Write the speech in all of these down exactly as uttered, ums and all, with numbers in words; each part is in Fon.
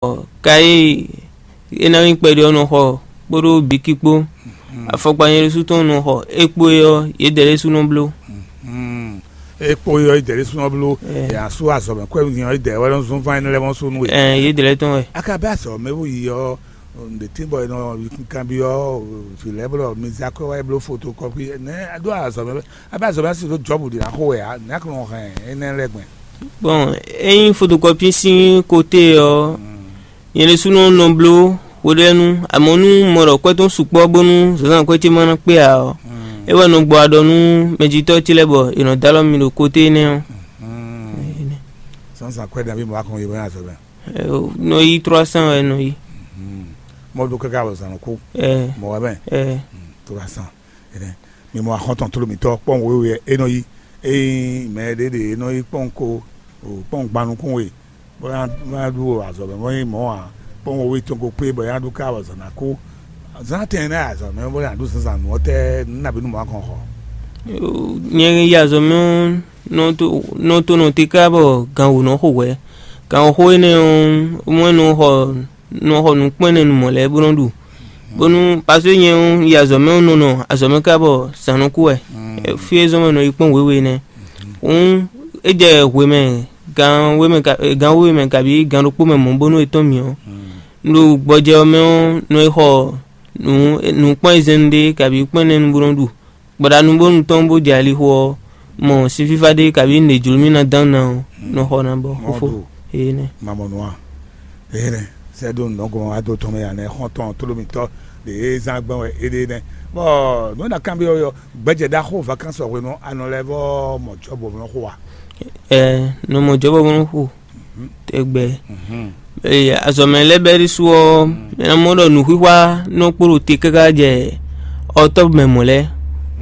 Ɔ, ka e é ná nyí kpɛɖé ɔ́ nɔ xɔ kpódó biki kpó. Afɔkpa nyɛ ɖésú tɔn nɔ xɔ é kpó é ɔ́, yědɛɛ ɖésú nɔ bló. E kpo yɔ idɛ ɖé súnmọ́ bló. Ɛ. Yà sú azɔ̌ mɛ kwɛ́ nyɔ idɛ wɛ nɔ zún fán ɛnɛ lɛ́ɛ mɔ sú nú we. Ɛ, yě dlɛ́ tɔn wɛ. Aka bɛ azɔ̌ mɛ bó yi ɔ, ɖe tí bɔ nɔ kanbyɔ vǐ lɛ́ɛ bó ɖɔ mi zé akwɛ́ wá yi bló fotokɔ́pi nɛ adó azɔ̌ mɛ. Abɛ azɔ̌ mɛ asi ɖó jɔ́bù ɖě ná xo wɛ ǎ nɛ̌ kó nɔ hɛn énɛ́ lɛ́ɛ gbɛn. Bon, ényí fotokɔpi sín koté ɔ́, nyɛ ɖésúnɔ nɔ bló hweɖénu, amɔ̌ nú un mɔ ɖɔ kwɛ́ tɔn sukpɔ́ bónú zǎnzǎn kwɛ́ ce ma ná kpé ǎ ɔ́, é wɛ nɔ gbɔ aɖɔ nú mɛjitɔ́ ce lɛ́ɛ bɔ è nɔ dó alɔ mì ɖo koté énɛ́ ɔ́. Zǎnzǎn kwɛ́ ɖaví mɔ wá kɔn yi bɔ nyi azɔ̌ mɛ. Nɔ yí trois cents wɛ nɔ yí. Mɔ ɖó káká bɔ zǎn nɔ kú. Ɛ, mɔ wɛ mɛ. Ɛ, trois cents. Ɛnɛ mi mɔ axɔ́ntɔn tló mǐtɔn kpɔ́n wěwe wɛ é nɔ yí. Ényí mɛ ɖé ɖe é nɔ yí kpɔ́n ko kpɔ́n gban nukún we bó ná ɖu azɔ̌ mɛ mɔ nyí mɔ̌ ǎ, kpɔ́n wěwe tɔn ko kpé bɔ é ná ɖu ká bɔ zǎn ná kú. Zǎn tɛn nɛ́ azɔ̌ mɛ bó ná ɖu zǎnzǎn nǔ ɔ́ tɛ́ nú nabí nú mɔ̌ ǎ kɔn xɔ. Nyɛ yí azɔ̌ mɛ ɔ́, nɔ tó nɔ tó nɔ te ká bɔ gan wǒ nɔ xo hwɛ̌. Gan xó énɛ́ ɔ́, mɔ nɔ xɔ nɔ xɔ nǔkpɛ́nnɛnumɔ lɛ́ɛ bó nɔ́ ɖu. Bónú paswé nyɛ ɔ́, yi azɔ̌ mɛ ɔ́ nɔ nɔ azɔ̌ mɛ ká bɔ zǎn nɔ kú wɛ. Fí e zɔ́n mɛ nɔ yi kpɔ́n wěwe nɛ́. Hǔn é jɛ hwe mɛ gan wé mɛ ka- gan wéwe mɛ kabí gan ɖokpó mɛ mɔ̌ bónú é tɔ́n mì ɔ́. Un ɖo gbɔjɛ ɔ́ mɛ ɔ́, nɔ yi xɔ nǔ nǔkpɔ́n e zɛ́n ɖe kabí kpɔ́n nɛ́ nu bó nɔ́ ɖu. Gbɔɖanu bónú tɔn bó jɛ alixo ɔ́, mɔ sin fífá ɖé kabí nǔɖé jló mì ná dán ná ɔ́, nɔ xɔ ná bɔ xófó. Énɛ́. Mamɔnua. Eye nɛ sɛ ɖo nɔgɔn ado tɔn mɛ anɛ xɔntɔn tlómitɔ ɖe e zán gbɛn wɛ e ɖe nɛ. Bɔ nú na kanbyɔ yɔ gbɛjɛ ɖaxó vacances hwenu anɔ lɛ vɔ mɔ jɔbɔ nɔ xo wa. Ɛ nɔ mɔ jɔbɔ nɔ xo tɛgbɛ. Ee, azɔ̌mɛ lɛ́ɛ bɛ́ ɖésú ɔ́, mɛ ná mɔ ɖɔ nǔxwíxwá nɔ kpo ɖo te káká jɛ ɔtɔ́ mɛ mɔ̌ lɛ́ɛ.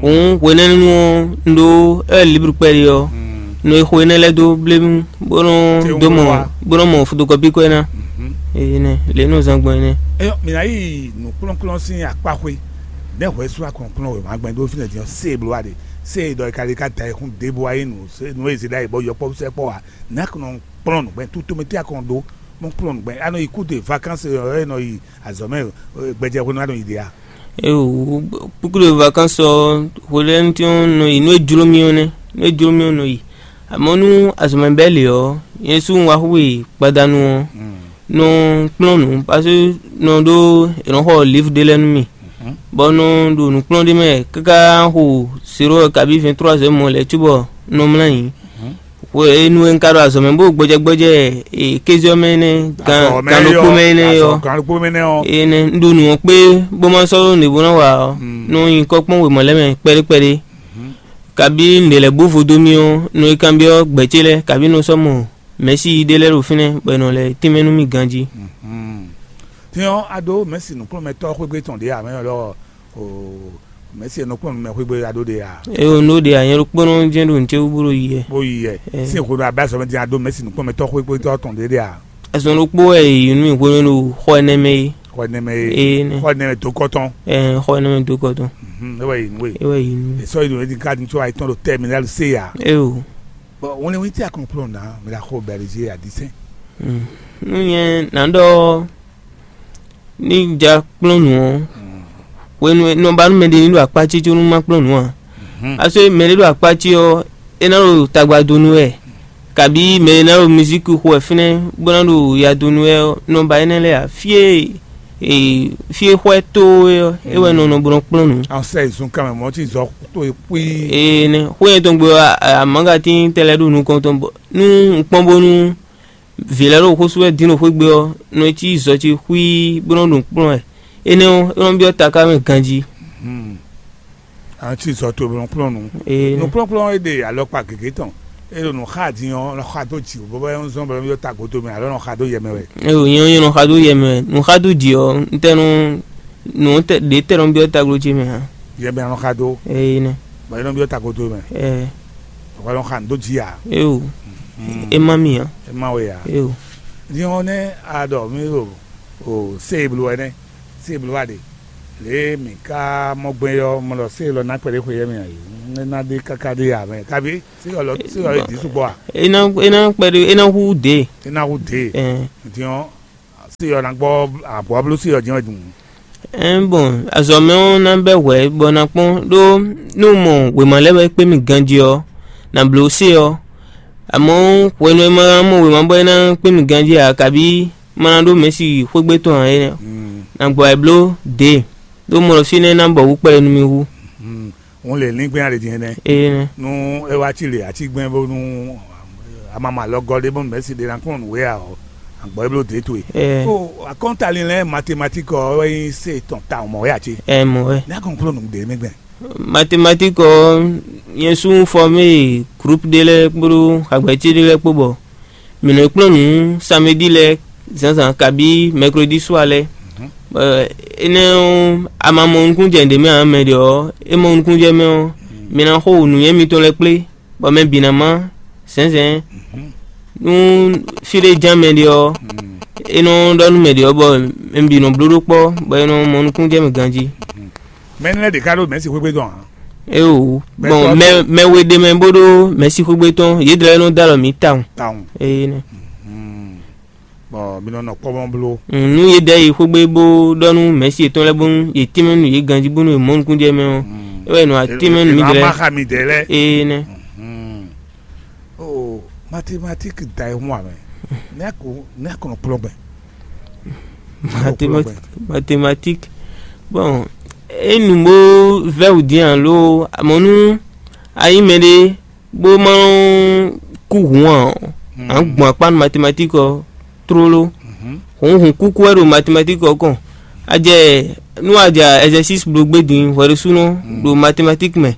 Hǔn hwenɛ́nu ɔ́, un ɖó ɛ libru kpɛɖé ɔ́, nɔ e xo énɛ́ lɛ́ɛ dó blémú, bó nɔ dó mɔ bó nɔ mɔ fotokɔpi kɔ ɛ ná. Énɛ́ lě nɔ zán gbɔn énɛ́. Eyɔ mi ná yi nǔkplɔ́nkplɔ́n sín akpáxwé nɛ́ hwɛ sú akɔn kplɔ́n wěma gbɛn dó fínɛ́ din ɔ́, sé e bló wa ɖe, sé e ɖɔ e ka ɖe ká da e xún ɖěbǔ wá yi nǔ sé nǔ e zě ɖ'ayǐ bɔ yɔkpɔ́vú sɛ́ kpɔ́ wa, nǎ kɔn nɔ kplɔ́n nǔgbɛn tutomɛ tí a kɔn dó mɔ kplɔ́n nǔgbɛn a nɔ yi kúdè vacances ɔ́ e nɔ yi azɔ̌ mɛ gbɛjɛ hwenu a nɔ yi ɖe a? Eo, kúkúɖo vacances ɔ́, hwelɛ́nútɔn nɔ yi nú é jló mì ɔ́ nɛ́, nú é jló mì ɔ́ nɔ yi. Amɔ̌ nú azɔ̌mɛ bɛ́ lě ɔ́, nyɛ sú un wá xwé gbadanu ɔ́, nɔ kplɔ́n nǔ, paseke nɔ ɖó è nɔ xɔ livre ɖé lɛ́ɛ nú mì, bɔ nɔ ɖo nǔkplɔ́n ɖé mɛ káká xo zéro kabí vingt trois heures mɔ lɛ́ɛ cóbɔ nɔ mlá nyi. Hwenu e un ka ɖo azɔ̌ mɛ bó gbɔjɛgbɔjɛ kéze ɔ́ mɛ énɛ́, gan ɖokpó mɛ énɛ́ ɔ́, énɛ́ un ɖo nǔ ɔ́ kpé bó ma sɔ́ ɖó nǔɖé bó ná wa ɔ́, nɔ nyi kɔ́kpɔ́n wěma lɛ́ɛ mɛ kpɛɖé kpɛɖé. Kabí nǔɖé lɛ́ɛ bó vo dó mì ɔ́, nɔ yi kanbyɔ́ gbɛ̌ ce lɛ́ɛ, kabí nɔ sɔ́ mɔ mɛ̌si ɖé lɛ́ɛ ɖo fínɛ́, bɔ è nɔ lɛ́ tínmɛ nú mì ganjí. Din ɔ́, a ɖó mɛ̌si nǔkplɔ́nmɛtɔ́ xwégbé tɔn ɖě ǎ mɛ lɔ mɛ̌si e nɔ kplɔ́n nǔ mɛ xwégbé a ɖó ɖe ǎ. Eo, nú ɖe ǎ, nyɛ ɖokpónɔ jɛ́n ɖo nǔ ce wú bó ɖo yi yɛ. Bó yi yɛ. Sín hwenu abɛ azɔ̌ mɛ din a ɖó mɛ̌si nǔkplɔ́nmɛtɔ́ xwégbé tɔn ɖě ɖe ǎ. Azɔn ɖokpó wɛ è yi nú mì hwenu e ɖo xɔ énɛ́ mɛ é. Xɔ énɛ́ mɛ é. Ee, nɛ. Xɔ énɛ́ mɛ dó kɔ tɔn. Ɛɛ, xɔ énɛ́ mɛ dó kɔ tɔn. É wɛ yi nú we. É wɛ yi nú. È sɔ́ yi ɖo édin káàdì tó ayetɔn ɖo tɛminali se ya. Eo. Bɔn wọn lɛ wọn ti akɔn kplɔn na mi la xɔ bɛrɛzi adisɛn. Nú nyɛ nǎ ɖɔ ní ja kplɔ́n nǔ ɔ́, hwenu e nɔ ba nú mɛɖé ní ɖo akpá ce có nú má kplɔ́n nǔ ǎ. Aso e mɛɖé ɖo akpá ce ɔ́, é ná ɖo tagba dó nú wɛ, kabí mɛɖé ná ɖo mizíki xo wɛ fínɛ́ bó ná ɖo ya dó nú wɛ ɔ́, nɔ ba énɛ́ lɛ́ɛ ǎ. Fí e ee, fí e xwɛ tó é ɔ́, é wɛ nɔ nɔ bó nɔ kplɔ́n nǔ. An sɛ zun kan mɛ mɔ tí zɔ tó e kpí. Ee, nɛ xó nyɛ tɔn gbe ɔ́, amǎgatín tɛ lɛ́ɛ ɖo nukɔn tɔn bɔ nú un kpɔ́n bónú vǐ lɛ́ɛ ɖo xó sú wɛ dín ɖo xwé gbe ɔ́, nɔ é cí zɔ ce xwíí bó nɔ́ ɖo kplɔ́n wɛ. Énɛ́ ɔ́, é nɔ́ byɔ́ taká mɛ ganjí. An cí zɔ to nɔ kplɔ́n nu. Ee, nɛ. Nukplɔ́nkplɔ́n e ɖe alɔkpa gěgé tɔn, e ɖo nǔ xa din ɔ́, nɔ xa dó jǐ bɔ bɔ é nɔ zɔ́n bɔ é nɔ byɔ́ tagodo mɛ alo nɔ xa dó yɛ mɛ wɛ. Ee, nyɛ ɔ́, nyɛ nɔ xa dó yɛ mɛ wɛ. Nǔ xa dó jǐ ɔ́, un tɛ nɔ nǔ tɛ ɖě tɛ nɔ byɔ́ taglo ce mɛ ǎ. Yɛ mɛ nɔ xa dó. Ee, nɛ. Bɔ é nɔ byɔ́ tagodo mɛ. Ɛɛ. Bɔ é nɔ xa nǔ dó jǐ ǎ. Ee, o. É má mi ǎ. É má we ǎ. Ee, o. Din ɔ́ nɛ́ a ɖɔ mí ɖo o se e bló wɛ nɛ́, se e bló wá ɖe. Lě e mǐ ka mɔ gbɛn ɔ́, mɔ ɖɔ se élɔ́ ná kpɛɖé xwe yɛ́ mɛ ǎ. É ná ɖe káká ɖe ǎ mɛ. Kabi se élɔ́ se élɔ́ e dǐ sukpɔ́ a? É ná é ná kpɛɖé é ná hú dě. É ná hú dě. Ɛɛ. Din ɔ́, Se ɔ́ ná gbɔ abɔ̌blúsi ɔ́ jɛ́n wɛ din. Ɛn bɔn, azɔ̌ mɛ ɔ́ ná bɛ́ hwɛ̌ bɔ ná kpɔ́n ɖó nú mɔ wěma lɛ́ɛ wɛ kpé mì ganjí ɔ́, nǎ bló se ɔ́. Amɔ̌, hwenu e ma mɔ wěma bɔ é ná kpé mì ganjí ǎ, kabí ma ná ɖó mɛ̌si xwégbé tɔn ǎ é nɛ́, nǎ gbɔ wɛ bló dě, ɖó mɔ ɖɔ fínɛ́ ná bɔ wú kpɛɖé nú mì hú. Òun lè língbɛ́n ali din énɛ́. Énɛ́. Nú é wá cí lě atígbɛ́n bónú amama lɔ gɔ́ ɖé bónú mɛ̌si ɖé ná kplɔ́n nǔ wé ǎ ɔ́, àgbɔ̌ é bló dě towe. Ɛ. Ó, akɔ́ntalin lɛ́ɛ matematík ɔ́ wɛ nyí se tɔn tawun mɔ̌ wɛ ǎ cé? Ɛ mɔ̌ wɛ. Ní akɔn kplɔ́n nǔ ɖé mɛ gbɛn. Matematík ɔ́, nyɛ sú un fɔmé groupe ɖé lɛ́ɛ kpódó xagbɛ̌cí ɖé lɛ́ɛ kpó bɔ mǐ nɔ kplɔ́n nǔ samedi lɛ́ɛ zǎnzǎn kabí mɛklódi sua lɛ́ɛ. Bɔ énɛ́ ɔ́, a ma mɔ nukúnjɛ ɖě mɛ ǎ mɛ ɖě ɔ́, é mɔ nukúnjɛ mɛ ɔ́, mi ná xo nǔnywɛ́ mitɔn lɛ́ɛ kplé, bɔ mɛ bǐ ná má zɛ̌nzɛ̌n. Nú fí ɖé ján mɛ ɖé ɔ́, é nɔ ɖɔ nú mɛ ɖě ɔ́, bɔ mɛ bǐ nɔ bló ɖó kpɔ́, bɔ é nɔ mɔ nukúnjɛ mɛ ganjí. Mɛ énɛ́ lɛ́ɛ ɖě ká ɖo mɛ̌si xwé gbe dɔn ǎ. Éeǒ, gbɔn mɛ mɛ we ɖ'é mɛ bó ɖó mɛ̌si xwégbé tɔn, yědɛɛ lɛ́ɛ nɔ dó alɔ mǐ tawun. Tawun. Énɛ́. Bɔ mi nɔ nɔ kpɔ́ mɔ bló. Nú yě ɖɛ yi xwégbé bó ɖɔ nú mɛ̌si yětɔn lɛ́ɛ bónú yě tínmɛ nú yě ganjí bónú yě mɔ nukúnjɛ mɛ ɔ́, é wɛ nɔ atínmɛ nú mǐdɛɛ lɛ́ɛ. Énɛ́. Ó, mathématique da e hun amɛ. Ní a kò ní a kò nɔ kplɔ́n gbɛn. Mathématique. Mathématique. Bon, é nu bó vɛ́ wǔ dín alo amɔ̌ nú a nyí mɛɖé bó ma kú hǔn ǎ ɔ́, à ń gbɔn akpá nú mathématique ɔ́ tlóló. Hǔn hǔn kúkú wɛ ɖo mathématique ɔ́ kɔn. A jɛ nú a ja exercice bló gbé din hwɛɖésúnɔ ɖo mathématique mɛ,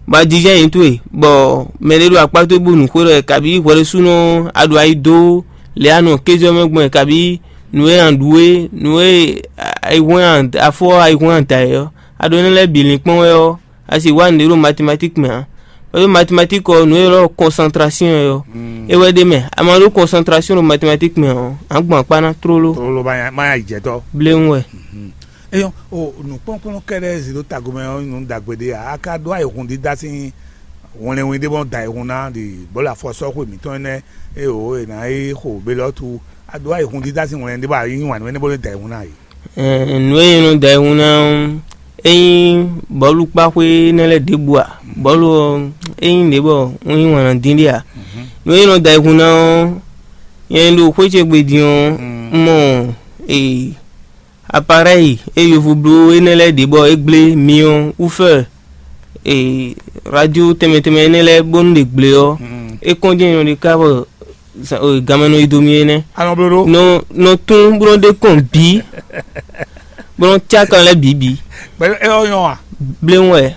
bɔ a jijɛ nyǐ towe, bɔ mɛɖé ɖo akpá towe bó nǔ xwé ɖɔ wɛ, kabí hwɛɖésúnɔ a ɖo ayi dó lě a nɔ kéze ɔ́ mɛ gbɔn wɛ, kabí nǔ e a ɖu é, nǔ e ayihwɛ́n afɔ ayihwɛ́n a da é ɔ́, a ɖo énɛ́ lɛ́ɛ bǐ linkpɔ́n wɛ ɔ́, a sì wá nǔɖé ɖo mathématique mɛ ǎ. Ɖó mathématique ɔ́, nǔ e ylɔ́ concentration é ɔ́, é wɛ ɖ'é mɛ. A ma ɖó concentration ɖo mathématique mɛ ɔ́, a nǎ gbɔn akpá ná tlóló. Tlóló má nyá má nyá yi jɛ tɔ́. Bléwún wɛ. Eyɔn o nǔkplɔ́nkplɔ́n kɛ́ɖɛ́ zǐ ɖó tagomɛ ɔ́ nyí nǔ ɖagbe ɖé ǎ. A ka ɖó ayihun dídá sín wlɛnwin ɖé bɔ da ayihun ná ɖi bɔ̌lu afɔsɔ́xwe mǐtɔn énɛ́ e o è nǎ yi xo belɔ́tu. A ɖó ayihun dídá sín wlɛnwin ɖé bɔ a yí wǎn nú énɛ́ bó nɔ́ da ayihun ná a yi. Ɛn, nǔ e nyí nɔ da ayihun ná ɔ́, é nyí bɔ̌lu kpáxwé énɛ́ lɛ́ɛ ɖěbǔ ǎ. Bɔ̌lu ɔ́, é nyí ɖě bɔ un yí wǎn ná dín ɖé ǎ. Nǔ e nyí nɔ da ayihun ná ɔ́, nyɛ ɖo xwé ce gbe din ɔ́, un mɔ ee, aparɛ́yi e yovo bló énɛ́ lɛ́ɛ ɖě bɔ é gblé myɔ wú fɛ ee, radio tɛnmɛ tɛnmɛ énɛ́ lɛ́ɛ bónú ɖě gblé ɔ́, é kɔn jɛ́n nyɔ̌ɖi ká bɔ ganmɛ nɔ yi do mì é nɛ́. A nɔ bló ɖó. Nɔ nɔ tún bó nɔ ɖe kɔn bǐ, bó nɔ cá kan lɛ́ɛ bǐ bǐ. Pẹ̀lú ẹ ɔ nyɔ wa. Bléwún wɛ.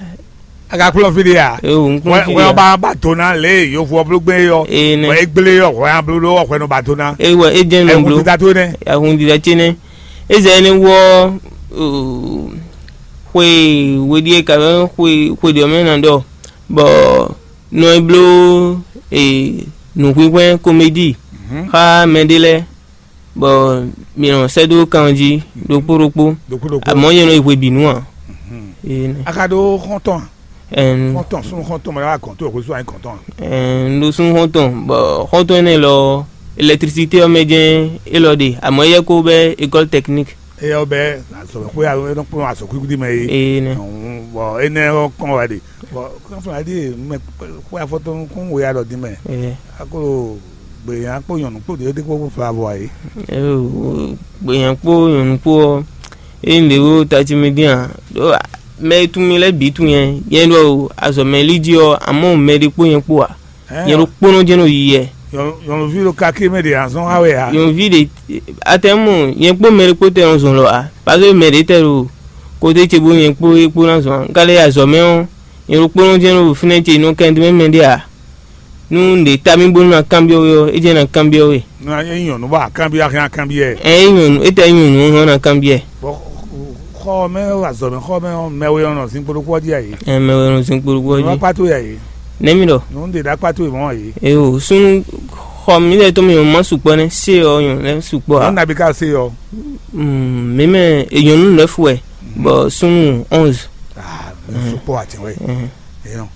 A ka kplɔ́n fí ɖé a? Ee, o, n kplɔ́n fí ɖé a. Wɛ ɔba ba do ná lě yovo ɔ bló gbé yɔ. Ee, nɛ. Wɛ é gblé yɔ hwɛ a bló ɖó ɔhwɛ nɔ ba do ná. Ee, wɛ é jɛ́n nɔ bló. Ɛ hun dídá tó nɛ. Ɛ hun dídá tó nɛ. É zɛ énɛ́ wú ɔ́, oo, xwe we ɖíe ka bɔ xwe xwe ɖě ɔ́ mɛ ná ɖɔ, bɔ nɔ e bló e nǔhwínhwɛ́n komédi xá mɛɖé lɛ́ɛ, bɔ mǐ nɔ sɛ́ dó kan jí ɖokpó ɖokpó. Ɖokpó ɖokpó. Amɔ̌ nyɛ nɔ yi hwebǐnu ǎ. Énɛ́. A ka ɖó xɔ́ntɔn a? Ɛn, Xɔ́ntɔn súnnu xɔ́ntɔn mɛ wá gɔ̌n tó xwésú anyi gɔ̌ntɔn a? Ɛn, un ɖo súnnu xɔ́ntɔn, bɔ xɔ́ntɔn énɛ́ lɔ ɔ́, électricité ɔ́ mɛ jɛ́n é lɔ ɖe, amɔ̌ éyɛ́ ko bɛ́ école technique. Éyɛ́ ɔ́ bɛ́ azɔ̌xwé e nɔ kplɔ́n azɔ̌xwíxwí mɛ é. Énɛ́. Bɔ énɛ́ ɔ́ kɔn wɛ ɖe. Bɔ kɔ́nflá ɖíe mɛ xwe afɔtɔn nukún we alɔ dín mɛ. Ɛ. Akolo gběnyan kpó nyɔ̌nu kpó ɖě ɖé kpó fla vɔ ayé. Gběnyan kpó nyɔ̌nu kpó ɔ́, é nyí ɖě wo tají mì dín ǎ. Ɖó mɛ e tunwun mì lɛ́ɛ bǐ tunwun nyɛ. Nyɛ ɖo azɔ̌ mɛ lí jí ɔ́, amɔ̌ mɛ ɖé kpó nyɛ kpó ǎ. Nyɛ ɖo kpónɔ jɛ́n ɖo yiyɛ. Nyɔ̌nuví ɖo kakí mɛ ɖě azɔn wa wɛ ǎ. Nyɔ̌nuví ɖě atɛmɔ nyɛ kpó mɛ ɖé kpó tɛ nɔ zɔn lɔ ǎ. Pase mɛ ɖě tɛ ɖo kote ce bó nyɛ kpó é kpó ná zɔn ǎ. Un ka lɛ yi azɔ̌ mɛ ɔ́, nyɛ ɖo kpónɔ jɛ́n ɖo fínɛ́ ce nɔ kɛn mɛ mɛ ɖé ǎ. Nú un ɖe ta mì bónú ná kanbyɔ́ we ɔ́, é jɛ́n ná kanbyɔ́ we. Nú a nyí nyɔ̌nu bɔ a kanbyɔ́ a hɛn a kanbyɔ́ ɛ. Ɛ é nyɔ̌nu, é tɛ nyí nyɔ̌nu ɔ́ hɛn ɔ́ ná kanbyɔ́ ɛ. Bɔ xɔ mɛ azɔ̌ mɛ xɔ mɛ mɛ we nɔ zin kpódó kpó jí ayé. Ɛ mɛ we nɔ zin kpódó kpó jí. Nɔ kpátó ayé. Nɛ́ mi ɖɔ? Nǔ ɖe ɖa kpátó mɔ ayé. Eo súnnu xɔ mi lɛ tó mi ma sukpɔ nɛ se ɔ nyɔ lɛ sukpɔ a. Nɔ nabi ka se ɔ. Mí mɛ enyɔnu nɛfu wɛ bɔ súnnu onze. Sukpɔ àti wɛ. Eyɔn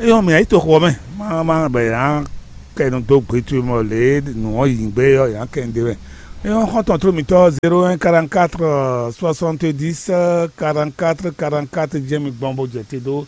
eyɔn mi ayi to xɔ mɛ ma ma bɛ yan kɛ nu do gbe tu mɔ le nu ɔ yi gbe yɔ yan kɛ nu de mɛ. É nyɔ́ xɔ́ntɔn tló mǐtɔn zéro un quarante quatre soixante dix quarante quatre quarante quatre jɛ́n mi gbɔn bó jɛ te dó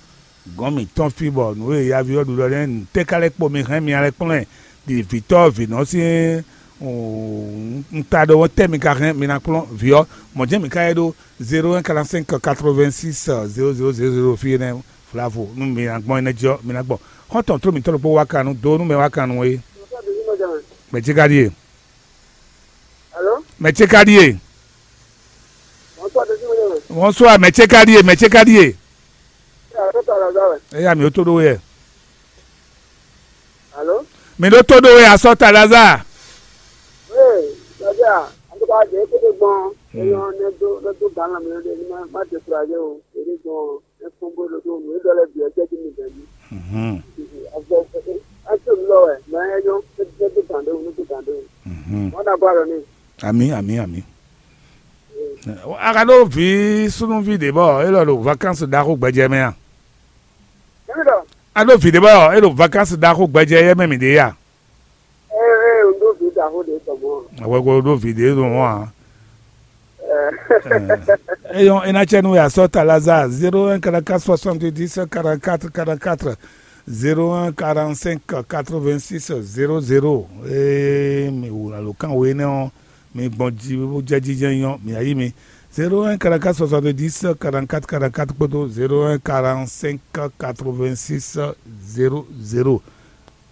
gɔ̌n mǐtɔn fí bɔ nǔ e yaví ɔ́ ɖu ɖɔ nɛ́ nǔ tɛ́ ka lɛ́ kpo mi hɛn mi lɛ́ kplɔ́n ɛ ɖi vǐtɔ́ vǐnɔ sín un ta ɖɔ tɛ́ mi ka hɛn mi ná kplɔ́n vǐ ɔ́. Mɔ̌ jɛ́n mǐ ka yɛ ɖó zéro un quarante cinq quatre vingt six zéro zéro zéro zéro fí énɛ́ vlavo nú mi ná gbɔn énɛ́ jí ɔ́ mi ná gbɔ. Xɔ́ntɔn tló mǐtɔn ɖokpó wá kan nú dó nú mɛ wá kan nú é. Mɛ cí ka ɖíe. Alo? Mɛ ce ka ɖíe. Bonsoir, Désiré Mɔjɛmɛ. Bonsoir, mɛ ce ka ɖíe, mɛ ce ka ɖíe. Alo, tó tɔlɔ zɔ wɛ. Eya mi ó tó ɖó yɛ. Alo? Mi ɖó tó ɖó yɛ asɔ ta Lazare. Ee, sɔjá, an tó bá jẹ kó tó gbɔn. Hmm. Eyɔn ne do ne do gan la mi ne ma ma décourager o. Ere gbɔn. Ɛ kpɔ́n bó ɖo ɖó nǔ e ɖɔ lɛ́ɛ bǐ ɔ́ jɛ jí mi bɛ̌ mì. Mhm. Avɔ ɛ to nǔ lɔ wɛ, mɛ ɛ nyɔ́, é dó gǎn ɖó, é dó gǎn ɖó. Mhm. Wọ́n ná bá lọ ní. Àmì, àmì, àmì. A ka ɖó vǐ súnúví ɖě bɔ é lɔ ɖo vakansi ɖaxó gbɛjɛ mɛ a? Émi ɖɔ. A ɖó vǐ ɖě bɔ é ɖo vakansi ɖaxó gbɛjɛ yɛ mɛ mǐ ɖe a? Ee, ee, un ɖó vǐ ɖaxó ɖě tɔn mɔ̌. Hwɛgbo ɖó vǐ ɖě ɖo mɔ̌ ǎ. Eyɔn, é ná cɛ nú we asɔ́ ta Lazare zéro un quarante quatre soixante dix quarante quatre quarante quatre zéro un quarante cinq quatre vingt six zéro zéro. Ee, mi wǔ alo kan we énɛ́ ɔ́, mi gbɔn jí bó jɛ jijɛ nyɔ mi ayí mi zéro un quarante quatre soixante dix quarante quatre quarante quatre kpódó zéro un quarante cinq quatre vingt six zéro zéro.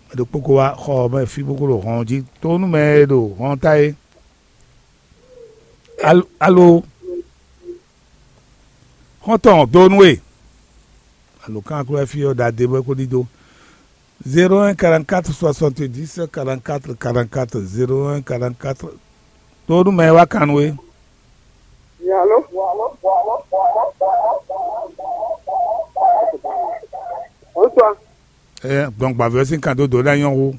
Mɛ ɖokpó ko wá xɔ ɔ́ mɛ fí bó ko ɖo hɔn jí tó nú mɛ e ɖo hɔn ta é. Alo, alo? Xɔ́ntɔn dó nú we. Alo kán aklúwɛ́ fí ɔ́ ɖadé bɔ é ko ɖidó. Zéro un quarante quatre soixante dix quarante quatre quarante quatre zéro un quarante quatre. Dó nú mɛ e wá kan nú we. Alo? Bonsoir. Ɛ gbɔn gbavɛ sín kan dó dǒ ɖ'ayɔ́ hu.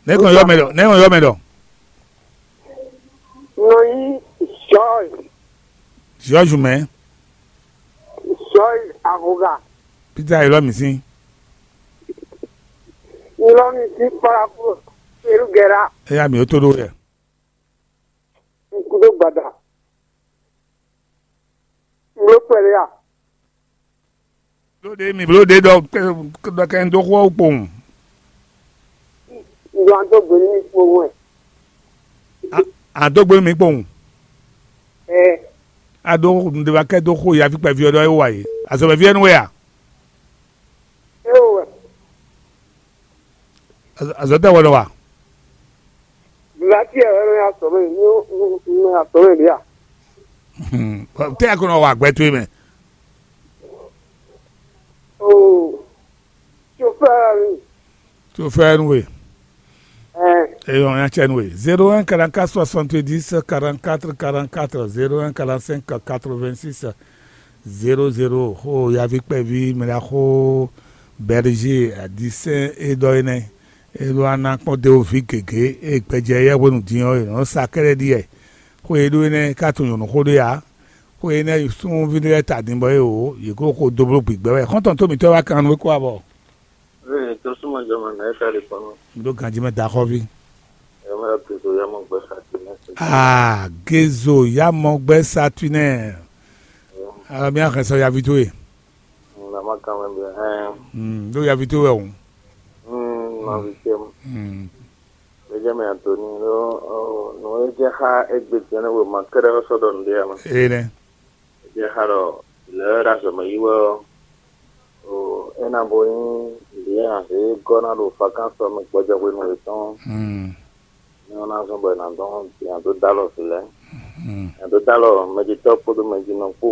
Nɛ̌ kɔn yɔ mɛ ɖɔ? Nɛ̌ kɔn yɔ mɛ ɖɔ? Nɔ yí George. George mɛ. George Ahoga. Peter yelɔ mi sín. Yelɔ mi sín kpalaku. Peru gɛra. Eya mi o to ɖo yɛ. Kudo gbada. Ŋlo kpɛɖé a? Bló ɖe mi bló ɖe ɖɔ ɖɔ kɛ un dó xó ɔ́ kpowun. Ɖo an dó gbe nú mi kpowun wɛ. A dó gbe nú mi kpowun. Ɛ. A ɖó nǔɖé wá kɛ dó xó yaví kpɛví ɔ́ ɖɔ é wa yě. Azɔ̌mɛví wɛ nú we a? É wɛ. Azɔ̌ tɛ wɛ nɔ wa? Vivati ɛ wɛ nɔ ya sɔmɛ, nɔ ya sɔmɛ ɖe a? Tɛ ya ko nɔ wa gbɛ towe mɛ? Oo, chauffeur. Chauffeur nú we. Ɛ. Eyɔn ya cɛ nú we. Zéro un quarante quatre soixante dix quarante quatre quarante quatre zéro un quarante cinq quatre vingt six zéro zéro. Xó yaví kpɛví mɛ ɖaxó Bɛrže adisɛn e ɖɔ é nɛ́. É ɖó ná kpɔ́n dó vǐ gěgé e gbɛjɛ yɛ hwenu din ɔ́ è nɔ́ sa kɛ́ɖɛ́ ɖi wɛ. Xó e ɖó énɛ́ ka tunwun nyɔ̌nu xó ɖé ǎ. Xó énɛ́ súnnuví ɖé lɛ́ɛ ta din bɔ é wǒ, yě kó xo dó bló gbigbɛ wɛ. Xɔ́ntɔn tó mǐtɔn wá kan nú é kó wá bɔ. Ee, tó súnmọ́ jɔ mɔ nɛ̌ ká ɖi kɔnɔ. Ɖó ganjí mɛ da xɔ́ví. Ɛ mɛ tó so yamɔ gbɛ sa ti nɛ. Ah, Gezo yamɔ gbɛ sa tui nɛ. Ala mi axɛ sɔ yavi towe. Nama kan mɛ bɛ hɛn. Hmm, ɖó yavi towe wɛ o. Hmm, ma vi tse. Hmm. Benjamin Anthony ɖó nǔ e jɛ xá égbé tɛnɛ́ wema kɛ́ɖɛ́ ɔ́ sɔ́ ɖɔ nǔɖé ǎ mɛ. Ee nɛ́. É jɛ xá ɖɔ lɛ̌ ɖo azɔ̌ mɛ yi wɛ ɔ́, é ná bo nyí lǐnlɛ́n azě e gɔ́ ná ɖo fakánsɔ mɛ gbɔjɛ́ hwenu yětɔn. Nɛ́ ɔ́ ná zɔ́n bɔ è nǎ dɔn nya dó dó alɔ vǐ lɛ́ɛ. Nya dó dó alɔ mɛjitɔ́ kpódó mɛjinɔ kpó.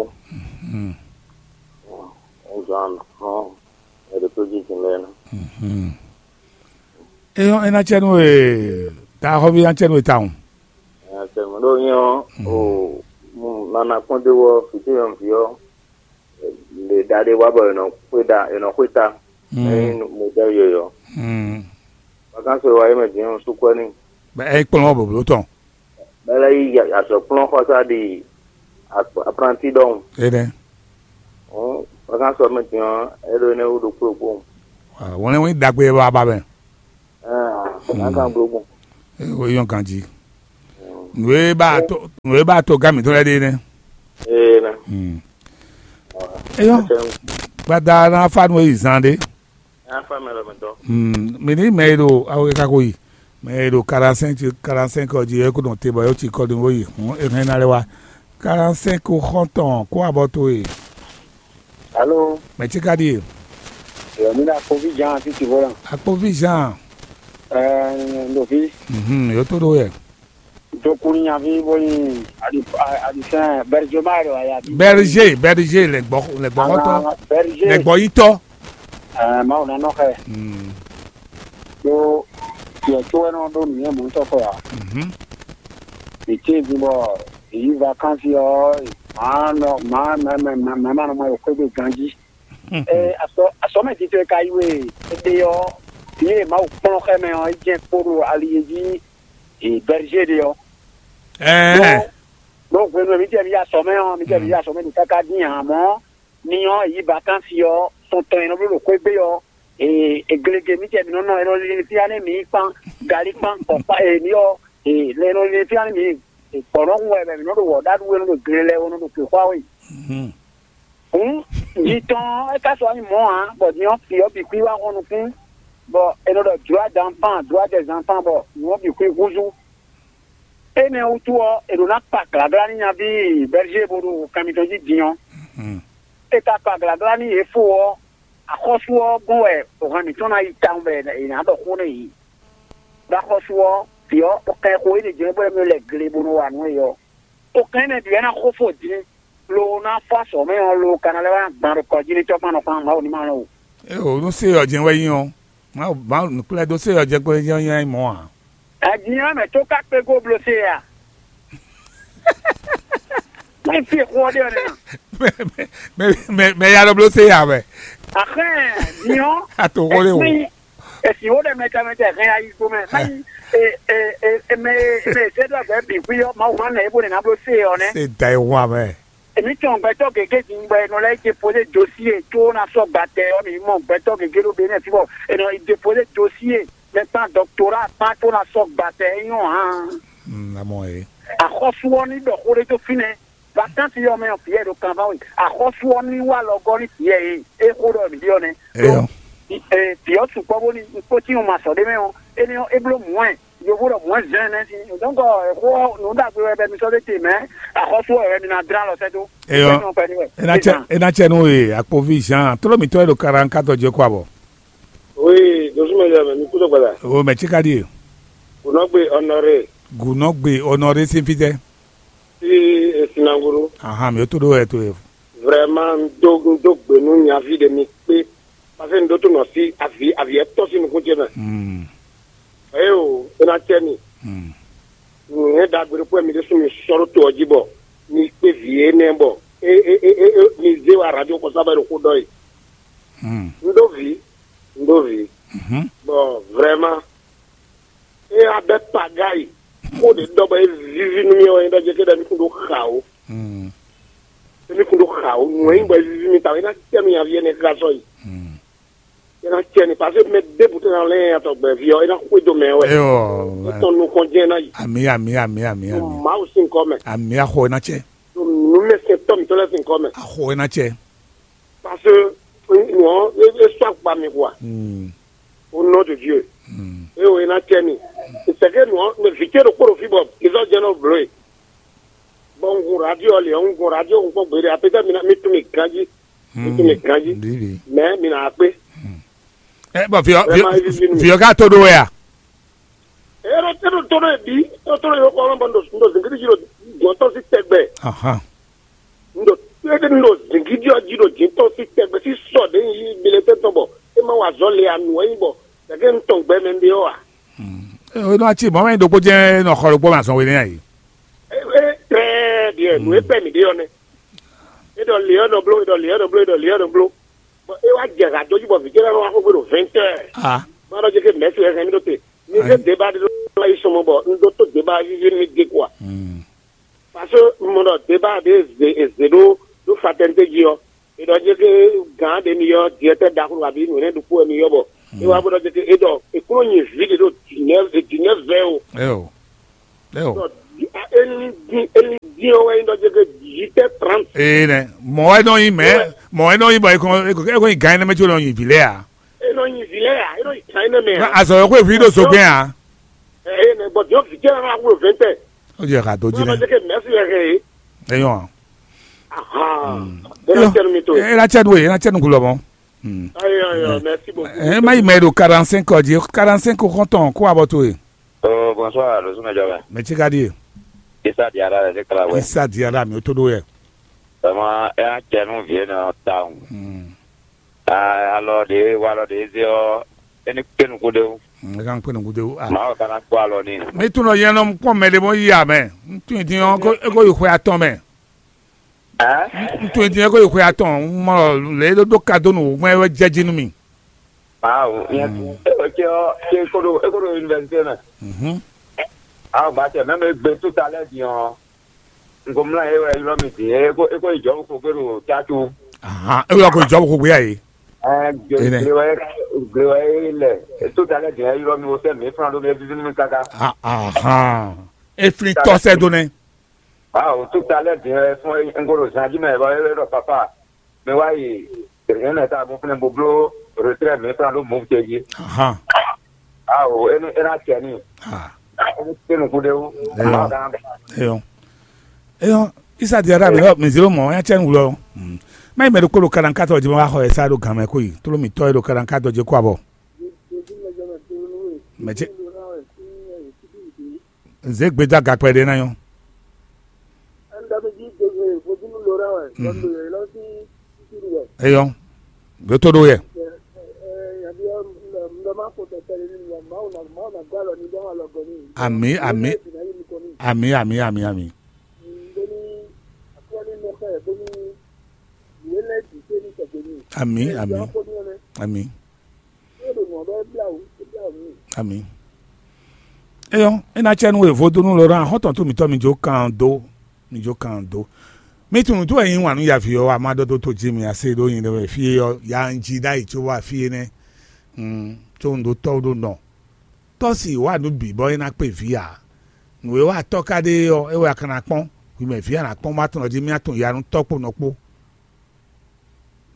É zɔ́n ɔ́, è ɖo tó jí din lɛ́ɛ ná. É nyɔ́, é ná cɛ nú we, ta xɔ́ví ná cɛ nú we tawun. Nya cɛ nú ɖó nyɛ ɔ́, o nana kpɔ́n dó wɔ fǐtó nyɔ̌nuví ɔ́, lě ɖa ɖé wá bɔ è nɔ xwé ɖa, è nɔ xwé ta. Ényí mo dɔ yɔyɔ. Vakansi wa yé mɛ din ɔ́, sukpɛ́ n'i. Bɛ é kplɔ́n bɔblo tɔn. Bɛ lɛ́ yí azɔ̌kplɔ́nxɔsá ɖi apranti ɖɔhun. É nɛ́. Vakansi ɔ́ mɛ din ɔ́, é ɖo énɛ́ wú ɖokpó ɖokpó. Wɛn wɛn ɖagbe wá ba mɛ. Ɛɛ, a kan gbló gbɔn. É nyɔ́ ganjí. Nǔ e ba to nǔ e ba togán mǐtɔn lɛ́ɛ ɖe nɛ́. Ee na. Hmm. Eyɔ, gbada na fa nú e yi zan ɖe. Afa mɛ lɔ mɛ dɔ. Hmm. Mi ní mɛ e ɖo awo kaka ko yi. Mɛ e ɖo quarante-cinq quarante-cinq ɔ jí e ko nɔ te bɔ yɔ ci kɔ ɖin wo yi. Hmm. E hɛn na lɛ wa. Quarante-cinq xɔntɔn kó abɔ to e. Alo. Mɛ ci ka ɖi e. Yɔ mi na kovi jan fi ti volan. Akpovi Jean. Ɛɛ ndovi. Mhm. Yo to ɖo yɛ. Dokun nyaví bó nyi alisɛn bɛrjoma ɖo aya. Berger, berger, lɛgbɔ lɛgbɔxɔtɔ. Berger. Lɛgbɔyitɔ. Ɛɛ mawu nɔ nɔ xɛ. Hmm. Ɖó tiɛ tó wɛ nɔ ɖó nǔnyɛ mɔ̌tɔn xɔ ya. Mhm. Mǐ tíin din bɔ mǐ yi vakansi ɔ́, mǎ nɔ mǎ mɛ mɛ mɛ mɛ ma nɔ mɔ xwé gbe ganjí. Ee, asɔ asɔmɛ titun e ka yi we ebe ɔ́, vǐ e Mawu kplɔ́n xɛ mɛ ɔ́, é jɛ́n kpo ɖo ali e jí e bɛrjé ɖe ɔ́. Ɛɛ. Ɖó hwenu e mǐ jɛ mǐ yi asɔmɛ ɔ́, mǐ jɛ mǐ yi asɔmɛ ɖo káká dín ǎ mɔ̌, ni ɔ́, yi vakansi ɔ́, tɔn tɔn e nɔ bló ɖo xwé gbe ɔ́, e e glege mǐ jɛ mǐ nɔ nɔ, e nɔ lin fífá nú mǐ kpán, galí kpán, kɔ̌kpá e mǐ ɔ́, e e nɔ lin fífá nú mǐ, gbɔ̌ nɔ hun wɛ bɔ mǐ nɔ ɖo wɔ̌ ɖa ɖu e nɔ ɖo gle lɛ́ɛ, e nɔ ɖo xwexwá we. Hǔn, yi tɔn ɔ́, é ka sɔ́ nyí mɔ̌ ǎ, bɔ din ɔ́, vǐ ɔ́ bǐ xwí wá hɔn nukún, bɔ è nɔ ɖɔ droit d'enfant, droit des enfants, bɔ nǔ ɔ́ bǐ xwí húzú. Énɛ́ wútu ɔ́, è ɖǒ ná kpa glǎglá nú nyaví Bɛlízée bo ɖo kan mitɔn jí din ɔ́. È ka kpa glǎglá nú yě fo ɔ́, axɔ́sú ɔ́ gɔ́n wɛ hɔn mǐtɔn ná yi tawun bɔ è nǎ ɖɔ xó nú yě. Ɖó axɔ́sú ɔ́, vǐ ɔ́, xo kɛn xo énɛ́ jɛ́n bɔ é mɛ lɛ gle bó nɔ wa nǔ é ɔ́. Xo kɛn énɛ́ bǐ wɛ ná xo fó din, lo ná fó azɔ̌ mɛ ɔ́, lo ka ná lɛ́ wá gban ɖo kɔ jí ní tɔ́ kpán nɔ kpán Mawu ní ma lɔn o. Eo nú sé ɔ́ jɛ́n wɛ nyí ɔ́, Mawu Mawu nǔkplɛ́ dó sé ɔ́ jɛ́n kpɔ́n nyí nyí mɔ̌ ǎ. Ajinyɔ́mɛ tó ka kpé gó bló sé a? Má nyí fí e xó ɔ́ ɖe ɔ́ nɛ́ a? Mɛ mɛ mɛ mɛ ya ɖɔ bló sé ya wɛ. Axɛ́, din ɔ́, Ato xó lé o. Esi wo ɖe mɛta mɛta hɛn ayi gbomɛ. Mayi e e e e mɛ e mɛ e zɛ do agbɛ bi xwi ɔ́, Mawu ma nɛ e bo ne na bló se ɔ́ nɛ. Se da e hu amɛ. Emi tɔn gbɛtɔ gege din bɔ enɔ lɛ dépose dosie tó na sɔ gbatɛ ɔ́, mi mɔ gbɛtɔ gege ɖo be nɛ fibɔ enɔ dépose dosie mɛ kpan dɔktora kpan tó na sɔ gbatɛ e nyɔ hàn. Hmm, amɔ e. Axɔsu ɔ́ ní ɖɔ xó ɖé tó fínɛ́. Vakansi ɔ́ mɛ ɔ́, vǐ ɛ ɖo kanván we. Axɔ́sú ɔ́ ní wá lɔ gɔ́ nú vǐ ɛ e é xó ɖɔ mǐ ɖe ɔ́ nɛ́. Eyɔ. Vǐ ɔ́ sukpɔ́ bónú un kpócí un ma sɔ ɖé mɛ ɔ́, énɛ́ ɔ́, é bló mɔ̌ ɛ. Yovo ɖɔ mɔ̌ ɛ zɛ́n nɛ́ sín. Donc, xó ɔ́, nǔ ɖagbe wɛ bɛ mi sɔ́ ɖé te mɛ̌, axɔ́sú ɔ́ wɛ mi ná dlá alɔ sɛ́ dó. Eyɔ. Ena cɛ ena cɛ nú e akpoví Jean tló mǐtɔn e ɖo kaɖankatɔ jɛ kó abɔ. Oui, dosumɛ yɛ mɛ mi kúdó gbada. O mɛ tsi ka ɖi e. Gunɔgbe Honoré. Gunɔgbe Honoré sín fítɛ́. Sí Esinangoro. Ahan, mi ó tó ɖó wɛ to e. Vraiment, un dó un dó gbe nú nyaví ɖe mi kpé. Parce que un ɖó tó nɔ sí avi avi ɛtɔ́ sín nukún ce mɛ. Hmm. Eye o, é ná cɛ mi. Hmm. Nǔnywɛ́ ɖagbe ɖokpó wɛ mi ɖésú mi sɔ́ ɖó to ɔ́ jí bɔ mi kpé vǐ énɛ́ bɔ é é é é é mi zé wa radio kɔsá bɔ é ɖo xó ɖɔ e. Hmm. Un ɖó vǐ, un ɖó vǐ. Mhm. Bon, vraiment, é wá bɛ́ paga yi. Xó ɖě ɖɔ bɔ é víví nú mì ɔ́, é ɖɔ jɛ ké ɖɔ émí kún ɖó xa ó. Mm. Émí kún ɖó xa ó. Nǔ e nyí bɔ é víví mì ta ɔ́, é ná cɛ nú nyaví énɛ́ ká sɔ́ yi. Mm. É ná cɛ n'i, parce que mɛ ɖěbǔ tɛ́ ná lɛ́ nyanya tɔn gbɛ̌ví ɔ́, é ná xwedó mɛ wɛ. Eyɔ. É tɔn nukɔn jɛ́n é ná yi. Ami, ami, ami, ami, ami. Mawu sín kɔ mɛ. Ami axɔ é ná cɛ. Nǔmɛsɛntɔ́ mǐtɔn lɛ́ɛ sín kɔ mɛ. Axɔ é ná cɛ. Parce que nǔ ɔ́, é é sɔ́ akpa mi quoi. Mm. Au nom de Dieu. Mm. É o é ná cɛ mi. C'est que nǔ ɔ́, mɛ vǐ ce ɖokpó ɖo fí bɔ Gizɔ jɛ́n nɔ bló e. Bɔ un hun radio ɔ́ lě ɔ́, un hun radio un kpɔ́n gbeɖé. Apetɛ́ mi ná mi tún mi ganjí. Mi tún mi ganjí. Bibi. Mais mi nǎ kpé. Ɛ bɔn viɔ Vraiment, viɔ viɔ ká to ɖó wɛ a? Ero tɛ ɖo tɔnɔ yɛ bi, ero tɔnɔ yɛ kɔ ɔlɔn bɔ ndo ndo zingiri dzi ɖo jɔntɔ si tɛgbɛ. Ahan. Ndo tɛ ndo zingiri ɔ dzi ɖo jintɔ si tɛgbɛ si sɔ ɖe yi bile tɛ tɔn bɔ e ma wa zɔ le anu ɛyin bɔ gake n tɔn gbɛ mɛ nɖe ɔ a. Ee, nɔ atsi mɔ mɛ ɖokpó jɛ nɔ xɔ ɖokpó ma zɔn wele ayi. E e très bien, nu e pɛ mi ɖe ɔ nɛ. E ɖɔ le ɔ nɔ blo, e ɖɔ le ɔ nɔ blo, e ɖɔ le ɔ nɔ blo. Bɔn e wa jɛ ha dó dzi bɔ vǐ ce lɛ nɔ wa xo gbe ɖo vingt heures. Ah. Ma ɖɔ dzi ke mɛsi wɛ hɛn mi ɖo te. Mi zé débat ɖé ɖo yi sɔmɔ bɔ un ɖó tó débat vivi mi dé quoi. Hmm. Parce que mo ɖɔ débat ɖé zé zé ɖó ɖó fraternité dzi ɔ. E ɖɔ dzi ke gán ɖé mi yɔ directeur ɖaxlo abi nǔ ne ɖokpó wɛ mi yɔ bɔ. E wa bó ɖɔ dzi ke e ɖɔ e kúrò nyi vi ɖé ɖo dix-neuf et dix-neuf vingt o. Eo. Eo. Eni dín eni dín ɔ́ wɛ nyí ɖɔ jɛ ke dix-huit heures trente. Ee nɛ, mɔ̌ wɛ nɔ nyi mɛ, mɔ̌ wɛ nɔ nyi bɔ e kɔn e kɔn nyi gan énɛ́ mɛ có nɔ nyi vǐ lɛ́ɛ ǎ. E nɔ nyi vǐ lɛ́ɛ ǎ, e nɔ nyi gan énɛ́ mɛ ǎ. Azɔ yɔ xwé vǐ ɖo zogbɛ́n ǎ. Ee nɛ, bɔ diɔ vǐ ce nɔ wá wúlò vɛntɛ. Ó jɛ xa dó jí nɛ. Jɛ ke mɛsi wɛ hɛ ye. Eyɔn. Ahan. E na cɛ nu mi to. E na cɛ nu e, e na cɛ nu gulɔ mɔ. Ayo ayo, merci beaucoup. E ma yi mɛ ɖo quarante-cinq ɔ jí, quarante-cinq xɔntɔn kó abɔ to e. Oh, bonsoir, le sumɛ jɔ mɛ. Mɛ tsi ka ɖi e. Isa Diarra lɛ de kla wɛ. Isa Diarra mi o to ɖo yɛ. Vraiment, e na cɛ nu vie nɔ tawun. Alɔ ɖe wa alɔ ɖe ze ɔ, e ni kpe nukuɖe o. E kan kpe nukuɖe o. Mawu kana kpɔ alɔ ni. Mi tun nɔ yɛn nɔ kpɔn mɛ ɖe bɔ yi amɛ. N tun din ɔ, e ko yi xwe atɔn mɛ. N tun din e ko yi xwe atɔn, n mɔ lě e ɖó ɖó ka dó nǔ gbɔn é wɛ jɛ jí nú mi. Mawu, nyɛ e wɛ cɛ ɔ, cɛ e ko ɖo e ko ɖo université mɛ. Awu ba cɛ mɛ mɛ gbe tout à l'heure din ɔ, n ko mlá e wɛ ylɔ́ mi din e ko e ko yi jɔ̌ ko gbé ɖo cácu. Ahan, e wɛ ko jɔ̌ ko gbé a ye. Ɛ gle wɛ gle wɛ e lɛ tout à l'heure din e ylɔ́ mi wo sɛ mi flan ɖo mi e vivi nú mi káká. Ahan, e flin tɔ sɛ do nɛ. Waaw, tout à l'heure din wɛ fún un ko ɖo zan jí mɛ bɔ é ɖɔ papa, mi wá yi Benin ta bó fɛnɛ bó bló retrait mi flan ɖó mɔ̌ ce jí. Ahan. Awo, é ní é ná cɛ ní. Ah. É ní kpé nukún ɖé wú. Eyɔn. Eyɔn. Eyɔn. Isa di ara mi lɔ mi zero mɔ ya cɛ nu wulɔ. Má yi mɛ ɖokpó ɖo kalankatɔ jí ma wá xɔ ɛ sá ɖo gan mɛ kó yi. Tló mi tɔ yi ɖo kalankatɔ jí kó abɔ. Mɛ ce. Zě gbeda gakpɛ ɖé ná nyɔ́. Eyɔ́, ɖó tó ɖó yɛ. Amǐ, amǐ, amǐ, amǐ, amǐ, amǐ. Amǐ, amǐ, amǐ. Ami. Eyɔ́, é ná cɛ nú we vodúnú Laurent xɔ́ntɔn tó mǐtɔn mi jó kan dó, mi jó kan dó. Mi tunwun tó wɛ nyí wǎn nú yaví ɔ́, a má ɖɔ dó tó jí mi a se ɖó nyi ɖe wɛ fí é ɔ́, ya un jí ɖ'ayǐ có wá fí énɛ́. Có un ɖó tɔ́ ɖó nɔ. Tɔ́ si wá nǔ bǐ bɔ é ná kpé vǐ ǎ. Nǔ e wa tɔ́ ka ɖe é ɔ́, é wɛ a ka ná kpɔ́n. Hwi mɛ vǐ a nǎ kpɔ́n bó a tunɔ jí mì a tunwun ya nú tɔ́ kpó nɔ kpó.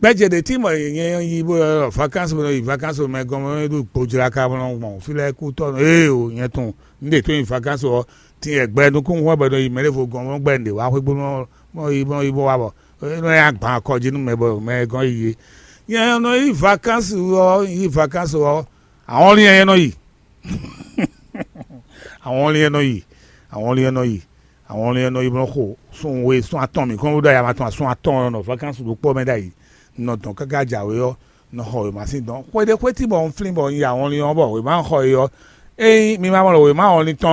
Gbɛ́jɛ ɖě tí mɔ nyɛ yi bó vakansi bó nɔ yi vakansi mɛ gɔn mɛ ɖo gbojlaka bó nɔ gbɔn fí lɛ́ɛ kú tɔ́ nɔ ee o nyɛ tɔn un ɖe tó yi vakansi ɔ́ tin yɛ gbɛ nukún hɔn bɔ nɔ yi mɛ ɖěvo gɔn mɔ gbɛ un ɖe wá xwé gbónú mɔ yi mɔ yi bó wá bɔ é nɔ ya gbɔn akɔ jí nú mɛ bɔ mɛ gɔn yi yé. Nyɛ nɔ yi vakansi ɔ́ yi vakansi ɔ́ àwọn lín nyɛ nɔ yi. Àwọn lín nyɛ nɔ yi. Àwọn lín nyɛ nɔ yi. Àwọn lín nyɛ nɔ yi bó nɔ xo sun we sun atɔn mǐ kɔn bó ɖo ayama tɔn sun atɔn nɔ vakansi ɖokpó mɛ ɖ'ayǐ. Nɔ dɔn káká jǎwe ɔ́ nɔ xɔ wěma sín dɔn xwe ɖé xwé tí bɔ un flín bɔ un yi awɔnlin ɔ́ bɔ wěma xɔ e ɔ́, ényí mi ma mɔ ɖɔ wěma awɔnlin tɔn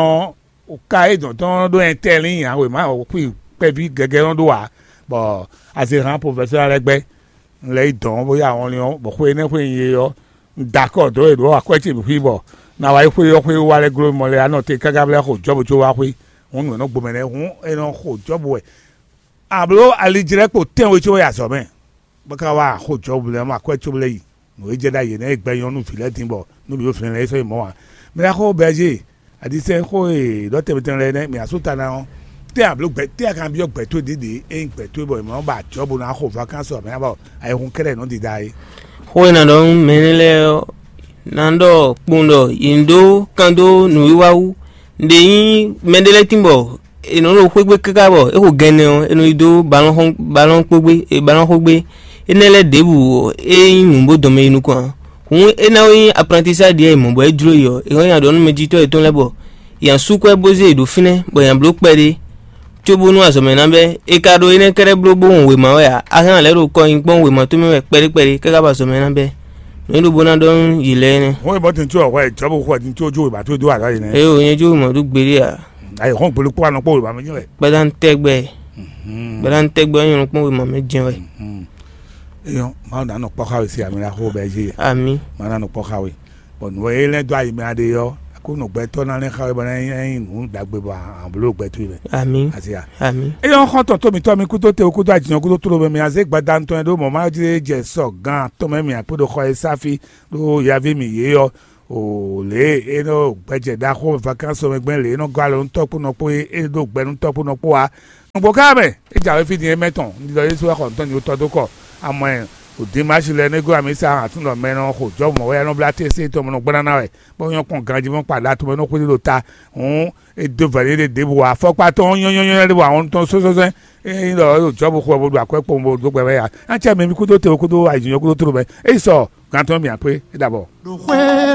ɔ́, ka e dɔn tɔn ɖó ɛntɛ́ lín ǎ, wěma xwí kpɛví gɛgɛ nɔ ɖó ǎ, bɔ azehán profɛsɛ́ lɛ́ɛ gbɛ́ un lɛ́ yi dɔn bó yi awɔnlin ɔ́, bɔ xwe énɛ́ xwé un yi é ɔ́, un da akɔ dó e ɖǒ akwɛ́ ce bǐ xwí bɔ na wá yi xwé ɔ́ xwé wá lɛ́ gló mɔ lɛ́ɛ anɔ te káká vlɛ́ xo Jɔ́bu có wá xwé, hǔn nǔ e nɔ gbɔn mɛ lɛ́ɛ hǔn è nɔ xo Jɔ́bu wɛ. Abló alijlɛ́kpo tɛ́nwe có wɛ yi azɔ̌ mɛ, bó ka wá xo Jɔ́bu lɛ́ɛ mɔ akwɛ́ cóbó lɛ́ɛ yi. Nǔ e jɛ ɖ'ayǐ énɛ́ e gbɛ nyɔ́ nú vǐ lɛ́ɛ din bɔ nú vǐ lɛ́ɛ sɔ́ yi mɔ̌ ǎ. Mɛ ná xó Bɛɛzée, adisɛ́n xó e ɖɔ tɛnmɛ tɛnmɛ lɛ́ɛ nɛ́ mǐ asú ta ná ɔ́, tɛ́ abló gbɛ tɛ́ a kan byɔ́ gbɛ towe ɖěɖě ényí gbɛ towe bɔ è mɔ ba Jɔ́bu ná xo vakansi ɔ́ mɛ ná bɔ ayihun kɛ́ɖɛ́ nɔ dida é. Xó e nǎ ɖɔ nú mɛ énɛ́ lɛ́ɛ ɔ́, ná ɖɔ kpowun ɖɔ yě ní ɖó kan dó nǔwiwa wú. Nǔɖé nyí mɛɖé lɛ́ɛ tín bɔ è nɔ ɖo xwé gbe káká bɔ é xo gɛnnɛ ɔ́, è nɔ yi dó balɔ́n kpó gbé, balɔ́n xó gbé. Énɛ́ lɛ́ɛ ɖěbǔ ɔ́, é nyí nǔ bó dɔn mɛ yi nukɔn ǎ. Hǔn é ná wɛ nyí aprantisá ɖíe è mɔ bɔ é jló yi ɔ́, è hɔn nyi aɖɔ̌númɛjitɔ́ yětɔn lɛ́ɛ bɔ yě ná sú kɔ ɛ bó zé yě ɖó fínɛ́, bɔ yě ná bló kpɛɖé, cóbónú azɔ̌ mɛ ná bɛ́. È ka ɖo énɛ́ kɛ́ɖɛ́ bló bó hɔn wěma wɛ ǎ, a hɛn lɛ̌ ɖo kɔ nyi kpɔ́n wěma tɔn mɛ wɛ kpɛɖé kpɛɖé káká bɔ azɔ̌ mɛ ná bɛ́. Nǔ e ɖo bó ná ɖɔ nú yě lɛ́ɛ nɛ́. Hɔn e bɔ tin tí wɔ hwɛ jɔbu xɔ tin tí ojú ìbá tó dó àlá yìí nɛ. Eye wònyɛ jó mɔ ɖó gbeɖé a? Ayi hɔn gbolo kpó anɔ kpó ìbá mi jẹ wɛ. Gbadá ń tẹ́ gbɛ. Gbadá ń tẹ́ gbɛ ɔ́ nyɔ́ kpɔ́n wěma mɛ jɛ wɛ. Eyɔn, Mawu ná nɔ kpɔ́ xa we sí àmì la xó bɛ yé. Ami. Mawu ná nɔ kpɔ́ xa we. Bɔn nǔ e lɛ́ dó ayi mɛ aɖe ɔ́, kó nɔ gbɛtɔ́ ná lɛ́ xa we bɔ ná nyí nǔ ɖagbe bɔ àbúrò gbɛtɔ́ yi mɛ. Ami. Asi a. Ami. Eyɔn xɔ́ntɔn tó mitɔ́ mi kúdó te kúdó ajinɔ kúdó tló mɛ mi azé gbada ntɔn ɖó mɔ̌ má jlé jɛ sɔ gan atɔn mɛ mi àkpé ɖo xɔ e sáfí ɖó yaví mi yě ɔ́. O lě e é nɔ gbɛjɛ ɖaxó vakansi ɔ́ mɛ gbɛn lě e é nɔ gɔ́ alɔ nú tɔ́ kpó nɔ kpó é é ɖó gbɛ nú tɔ́ kpó nɔ kpó ǎ. Nǔgbó ká mɛ é jǎwe fí din é mɛ tɔn un ɖiɖɔ yésu wá xɔ nǔtɔn ní wótɔ́ dó kɔ. Amɔ ɛ ò dín Mazi lɛ nú é gɔ́ amǐsa ahan tún ɖɔ mɛ nɔ xo jɔ́ mɔ̌ wɛ é nɔ blá tɛ́nsɛ́n tɔn mɔ nɔ gblá ná wɛ, bó nyɔ́ kpɔ́n ganjí mɔ kpa ɖa tɔn mɛ nɔ xwedó ɖo ta. Hǔn é dó vɛ̌ ɖé ɖěbǔ ǎ. Afɔkpa tɔn nyɔ́nyɔ́nyɔ́ ɖé bɔ ahɔn tɔn sɔ́sɔ́sɔ́ é nyí ɖɔ é ɖo jɔ́ bó xo ɛ bó ɖo akwɛ́ kpowun bó dó gbɛ wɛ ǎ. Á cɛ mɛ mi kúdó te kúdó ayǐjínjɔ́n kúdó tló mɛ. É yi sɔ gǎn tɔn mǐ akpé é ɖo abɔ.